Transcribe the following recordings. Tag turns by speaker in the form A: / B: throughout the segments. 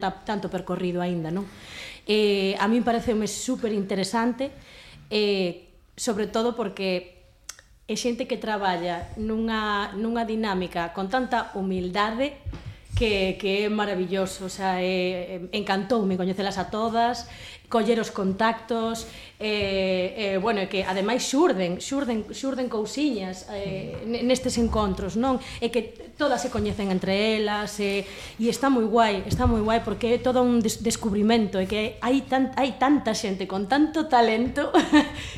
A: tanto percorrido aínda, non? A min pareceume super interesante, sobre todo porque é xente que traballa nunha dinámica con tanta humildade que é maravilloso, o sea, encantoume coñecelas a todas, coller os contactos, bueno, que ademais xurden cousiñas nestes encontros, non? E que todas se coñecen entre elas, e está moi guai porque é todo un descubrimento, e que hai tanta xente con tanto talento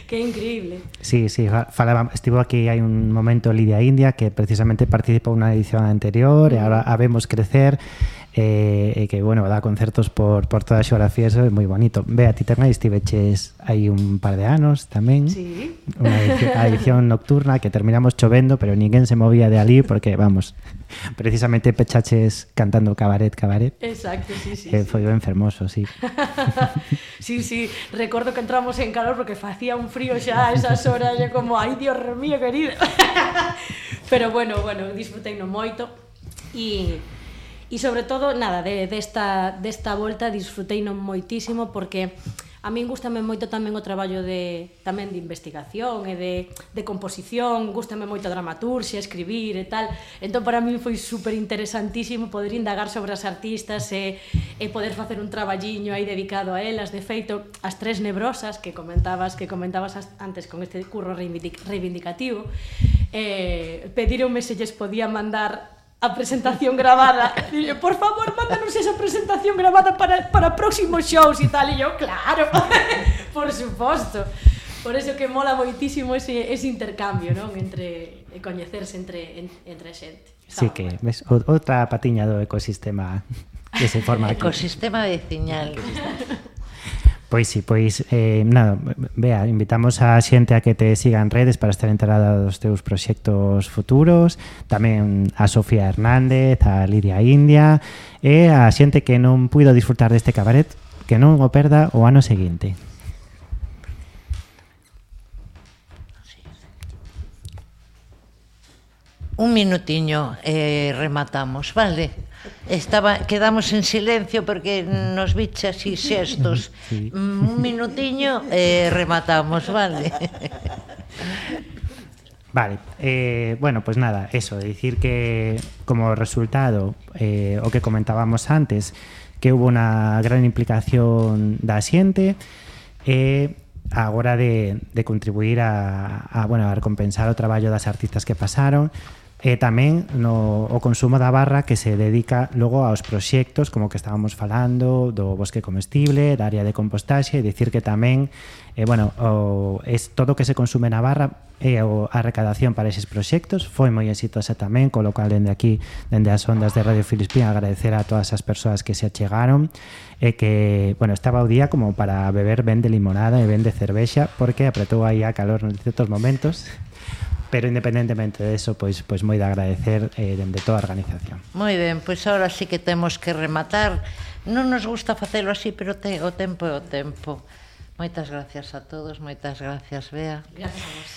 A: que é increíble.
B: Sí, estivo aquí hai un momento Lidia India que precisamente participou na edición anterior e agora a vemos crecer, e que, bueno, dá concertos por toda a xeografía, eso é moi bonito. Bea, ti tamén estiveches hai un par de anos tamén,
A: sí.
B: Unha edición nocturna que terminamos chovendo, pero ninguén se movía de ali porque, vamos, precisamente pechaches cantando cabaret.
A: Exacto, sí.
B: Foi ben fermoso, sí.
A: Sí, recordo que entramos en calor porque facía un frío xa a esas horas, e como, ai, Dios mío, querido. Pero bueno, disfruteino moito, e sobre todo, nada, desta volta disfruteino moitísimo porque a min gústame moito tamén o traballo tamén de investigación e de composición, gústame moito a dramaturxia, escribir e tal. Entón, para min foi super interesantísimo poder indagar sobre as artistas e poder facer un traballiño aí dedicado a elas. De feito, as tres nebrosas que comentabas antes con este curro reivindicativo, pedironme se lles podía mandar a presentación grabada. Dille, por favor, mándanos esa presentación grabada para próximos shows e tal. E eu, claro, por suposto. Por eso que mola moitísimo ese intercambio, non? Entre coñecerse entre a xente.
B: Sí, que ves outra patiña do ecosistema que se forma aquí.
C: Ecosistema veciñal.
B: Pois sí, nada, Bea, invitamos a xente a que te siga en redes para estar enterada dos teus proxectos futuros, tamén a Sofía Hernández, a Lidia India, e a xente que non puido disfrutar deste cabaret, que non o perda o ano seguinte.
C: Un minutiño rematamos, vale? Quedamos en silencio porque nos biche así xestos. Sí. Un minutiño rematamos, vale?
B: Vale, bueno, pues nada, eso, dicir que como resultado, o que comentábamos antes, que hubo unha gran implicación da xente, a hora de contribuir a recompensar o traballo das artistas que pasaron, e tamén o consumo da barra que se dedica logo aos proxectos como que estábamos falando do bosque comestible, da área de compostaxe, e dicir que tamén todo o que se consume na barra e a recadación para eses proxectos foi moi exitosa tamén, co lo cual dende aquí, dende as ondas de Radio Filispín, agradecer a todas as persoas que se achegaron e que, estaba o día como para beber ben de limonada e ben de cervexa porque apretou aí a calor en certos momentos. Pero independentemente de eso, pois moi de agradecer dende toda a organización.
C: Moi ben, pois agora sí que temos que rematar. Non nos gusta facelo así, pero o tempo é o tempo. Moitas gracias a todos, moitas gracias, Bea.
A: Gracias a vos.